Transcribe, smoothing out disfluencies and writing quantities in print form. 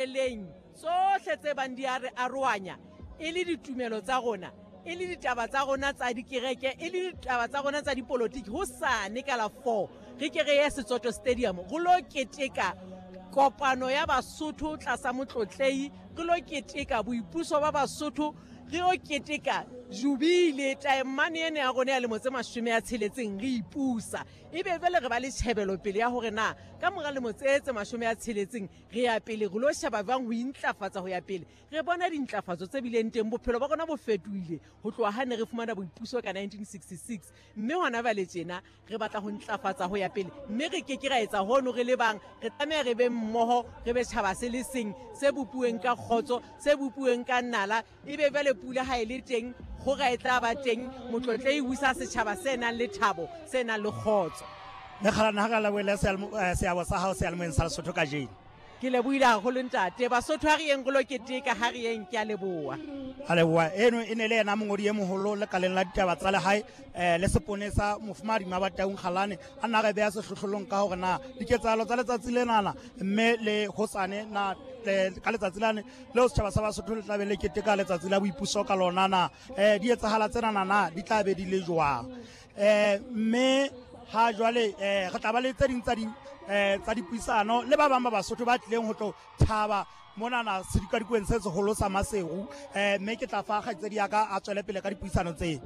Leng tsohle tse bang di a re arohanya, e le ditumelo tsa rona, e le ditaba tsa rona tsa dikereke, e le ditaba tsa rona tsa dipolotiki, hosane ka la 4 re ke re ye Setsoto Stadium re lo keteka kopano ya Basotho tlasa Motlotlehi, re lo keteka boipuso ba Basotho, re yo keteka jubile taemane ena ya rona ya lemo tse 60 re ipusa. Ebe jwale re ba le tjhebelopele ya hore na ka mora lemo tse tse 60 Re ya pele re lo sheba jwang ho intlafatsa ho ya pele. Re bona dintlafatso tse bileng teng, bophelo ba rona bo fetohile ho tloha ha ne re fumana boipuso ka 1966, mme hona jwale tjena re batla ho ntlafatsa ho ya pele, mme re ke ke ra etsa hono re le bang. Re tlameha re be mmoho, re be tjhaba se le seng se bopuweng ka kgotso, se bopuweng ka nala. Ebe jwale pula ha e le teng, kgora e tla ba teng, Motlotlehi o isa setjhaba se nang le thabo, se nang le kgotso. Mekgalana, ha re lebohele seabo sa hao seyalemoyeng sa Lesotho kajeno. Ke lebohile haholo ntate. Basotho ha re yeng re lo keteka, ha re yeng, ke a leboha. A leboha. Eno e ne le yena mongodi e moholo lekaleng la ditaba tsa lehae le seponesa Mofumahadi Mabataung Kgalane, a nna re beha sehlohlolong ka hore na diketsahalo tsa letsatsi lenana mme le hosane na ka letsatsi lane leo setjhaba sa Basotho le tlabe le keteka letsatsi la boipuso ka lona na di etsahala tsena na di tla be di le jwang. Mme ha jwale re tla ba le tse ding tsa dipuisano le ba bang ba Basotho ba tlileng ho tlo thaba monana sedikadikweng se seholo sa Maseru. Mme ke tla fa kgaitsedi ya ka a tswele pele ka dipuisano tse.